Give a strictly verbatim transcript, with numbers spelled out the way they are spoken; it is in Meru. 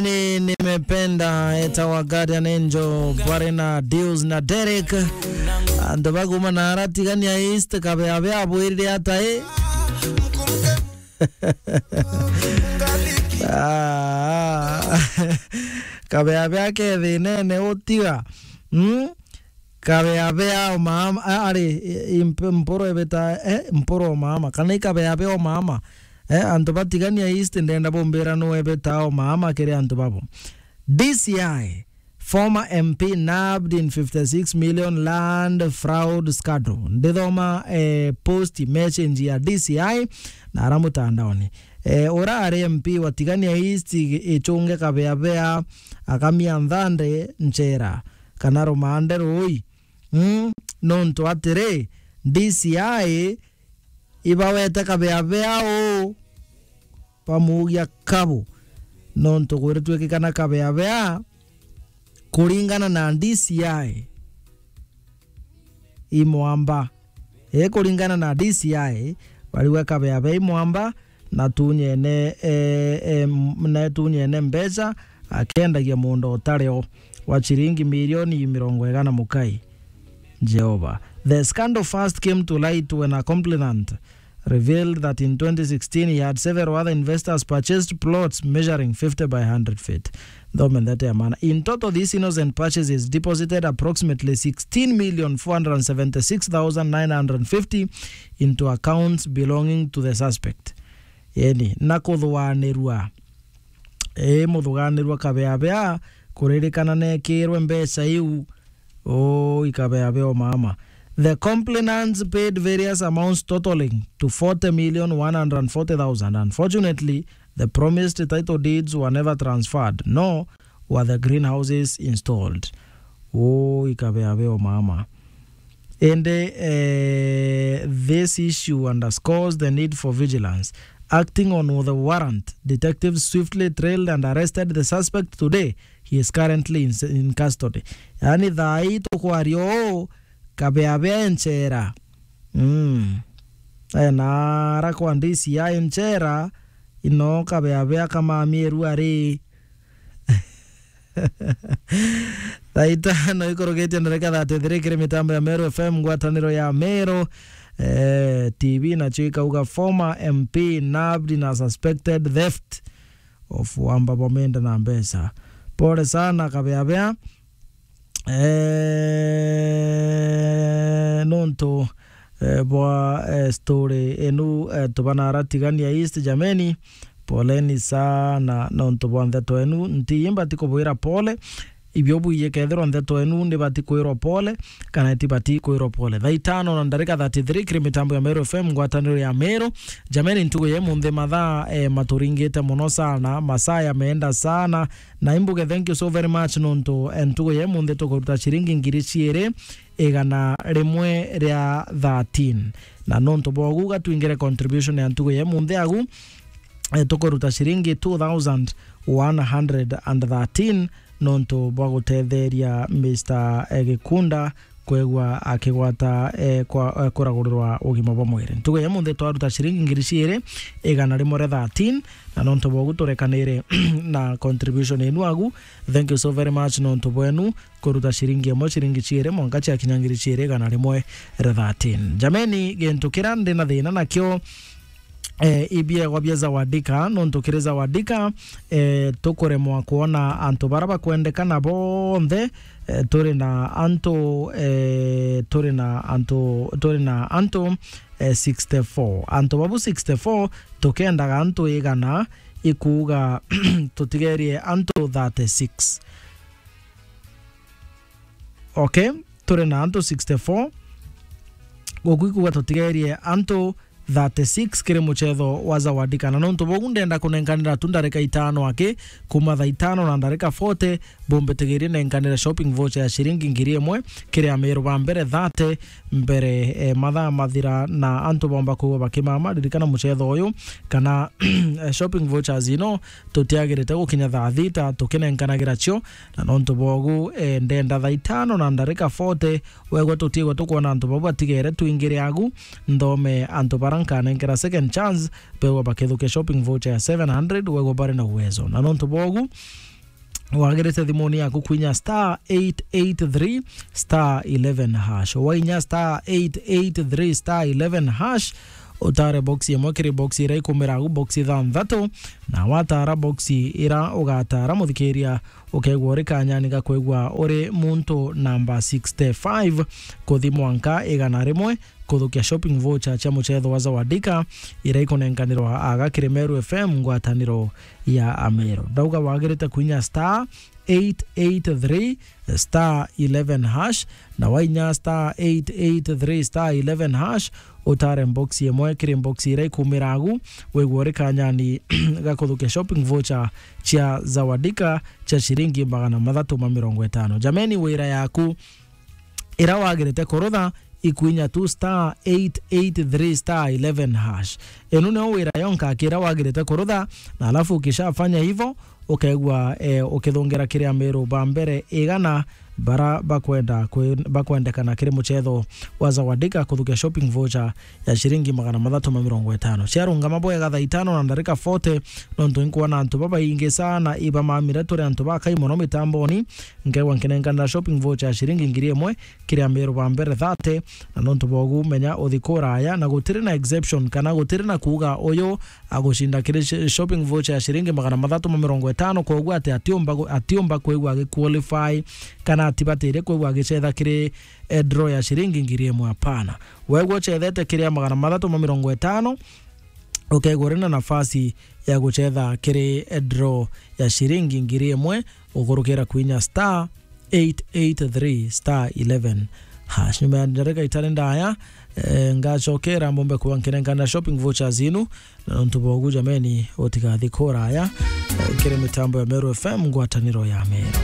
Ni, nimependa etawa Guardian Angel, bwari na Deals na Derek. Antu baguma na aratigania East, kabeabea abwirire ata i? Ah, kabeabea ke thinene utiga. Mm? Kabeabea o maama, a-, ari, i-, imp-, mporo ebeta, eh, mporo o maama, kana ikabeabea o maama. Eh, antu batigania East, ndenda bumbira nu ebeta o maama kiri antu babo. D C I, former M P nabbed in fifty-six million land fraud scandal. Ndithoma, eh, post message ya D C I na ara mutandaoni. Eh, ura ari M P wa Tigania East, i-, ichunge kabeabea, akamia nthande nchera, kana rumande rui. Mm, nontu atiri, D C I ibawete kabeabea uu bamugia kabu, nontu gwitwikikana kabeabea kuringana na D C I imwamba. Ii, kuringana na D C I, bariuga kabeabea imwamba, na tunyene, eh, eh, m-, na tunyene mbeca, akiendagia munda utari o wa ciringi milioni mirongo igana mukai. Jehovah. The scandal first came to light when a complainant revealed that in twenty sixteen he had several other investors purchased plots measuring fifty by hundred feet. Thome ndeto ya maana. In total, these innocent purchases deposited approximately sixteen million four hundred seventy-six thousand nine hundred fifty into accounts belonging to the suspect. Yani, na kuthuganirua, ii, muthuganirua kabeabea kuririkana nekirwe mbeca iu. Uu ikabeabea o maama. The complainants paid various amounts totaling to forty million one hundred forty thousand. Unfortunately, the promised title deeds were never transferred, nor were the greenhouses installed. Uu ikabeabea o maama. Indi, eh, this issue underscores the need for vigilance. Acting on the warrant, detectives swiftly trailed and arrested the suspect today. He is currently in, in custody. Yani, thaa ii tukwaria uu, kabeabea e nchera. Mm. Ena ara kwa D C I nchera, ino kabeabea kamamie ru ari. Thaa itano ikurugitie ndarika thirty-three kiri mitambo ya Meru F M, ngwataniro ya Meru, eh, T V, nacio ikauga, former M P nabbed in a suspected theft of wamba bwa menda na mbeca. Pole sana, kabeabea. Eh, nontu, eh, bwa, eh, story enu, eh, tubana ara Tigania East, jameni, poleni sana nontu bwa ndeto enu. Nti imbati kubwira pole, ibio bwiye kethirwa ndeto enu nibati kwirwa pole, kana itibati kwirwa pole. Thaa itano na ndarika thirty-three kiri mitambo ya Meru F M, ngwataniro ya Meru. Jameni, ntugu ya imunthi mathaa, eh, maturingite mono sana, masaa yameenda sana, na imbuge thank you so very much nontu, eh, ntugu ya imunthi tukuruta ciringi ngiri ciiri igana rimwe ria thirteen. Na nontu bwa ugu, gatwingire contribution ya ntugu ya imunthi agu, eh, tukuruta ciringi two thousand one hundred and thirteen nontu bwa gutetheria Mister, eh, Gikunda kwigua akigwata, eh, kwa, eh, kuragurirwa ugima bwa mwiri. Ntugu ya imunthi twaruta ciringi ngiri ciiri igana rimwe ria thirteen, na nontu bwa ugu turekanire na contribution enu agu. Thank you so very much nontu bwenu kuruta ciringi imwe, ciringi ciiri, mwanka ciakinya ngiri ciiri igana rimwe ria thirteen. Jameni, gintu kiria ndi na thina nakio, eh, ibiegwa bia Zawadika, nontu kiri Zawadika, eh, tukuremwa kwona antu bara bakwendekana bonthe, eh, turi na antu, eh, turi na antu, turi na antu, eh, sixty-four. Antu babu sixty-four, tukendaga antu igana, ikuuga tutigerie antu thirty-six. Okay, turi na antu sixty-four. Guku ikuuga tutigerie antu thirty-six kiri mucetho wa Zawadika. Na nontu bogu ndenda kunenkanira tu ndarika itano aki, kuma thaa itano na ndarika forty, bumbitigirie nenkanire shopping voucher ya ciringi ngiri imwe kiri amiru ba mbere thirty mbere, eh, mathaa mathira na antu bomba kwigua bakimama. Ririkana mucetho uyu kana, eh, shopping vouchers ino tutiagirite gukinya thaa thita tukinenkanagira cio, na nontu bogu, eh, ndenda thaa itano na ndarika forty, wegwa tutiigwa tukwona antu bau batigere twingire agu, nthome antu bara nkanenkera second chance, begwa bakithukia shopping voucher ya seven hundred, wegwa bari na uwezo. Na nontu bogu, wagirite thimuni yaku kwinya star eight eight three star eleven hash. Wainya star eight eight three star eleven hash, utare box imwe kiri box ira ikumiragu box ithanthatu, na watara box ira ugatara, muthikiria, ukegwa uri kanyani ga kwigwa uri muntu namba sixty-five kuthi mwanka igana rimwe kuthukia shopping voucher cia muchetho wa Zawadika ira ikunenkanirwa aga kiri Meru F M ngwataniro ya Ameru. Ndauga wagirite kwinya star eight eight three star eleven hash, na wainya star eight eight three star eleven hash, utare box imwe kiri box ira ikumiragu, wigwa uri kanyani ga kuthukia shopping voucher cia Zawadika cia ciringi magana mathatu ma mirongo itano. Jameni, wira yaku ira wagirite kurutha ikwinya tu star eight eight three star eleven hash. Inu nio wira yonka akira wagirite kurutha, na alafu ukishafanya hivo, ukegwa, eh, ukithungira kiri Ameru ba mbere igana bara bakwenda kwi-, bakwendekana kiri muchetho wa Zawadika kuthukia shopping voucher ya ciringi magana mathatu ma mirongo itano. Ciarungama bwega thaa itano na ndarika forty, nontu inkwona antu babaingi sana ibamamire turi antu bakai mono mitamboni, nkegwa nkinenkanira shopping voucher ya ciringi ngiri imwe kiri Ameru ba mbere thate, na nontu bogu menya uthi kuraya, na gutiri na exception, kana gutiri na kuuga uyu agucinda kiri sh-, shopping voucher ya ciringi magana mathatu ma mirongo itano, koguo ati atiumba gu-, atiumba kwigua agi qualify, kana atibatire kwigua agicetha kiri, eh, draw ya ciringi ngiri imwe, hapana. Wegwa uchethete kiri ya magana mathatu ma mirongo itano, ukegwa uri na nafasi ya gucetha kiri, eh, draw ya ciringi ngiri imwe, ukurukira kwinya star eight eight three star eleven hash. Nyuma ya ndarika itari ndaya, eh, ngacokera mbombe kuwa nkinenkana shopping vouchers inu, na nontu bogu jameni, utigathi kuraya, eh, kiri mitambo ya Meru F M ngwataniro ya Meru.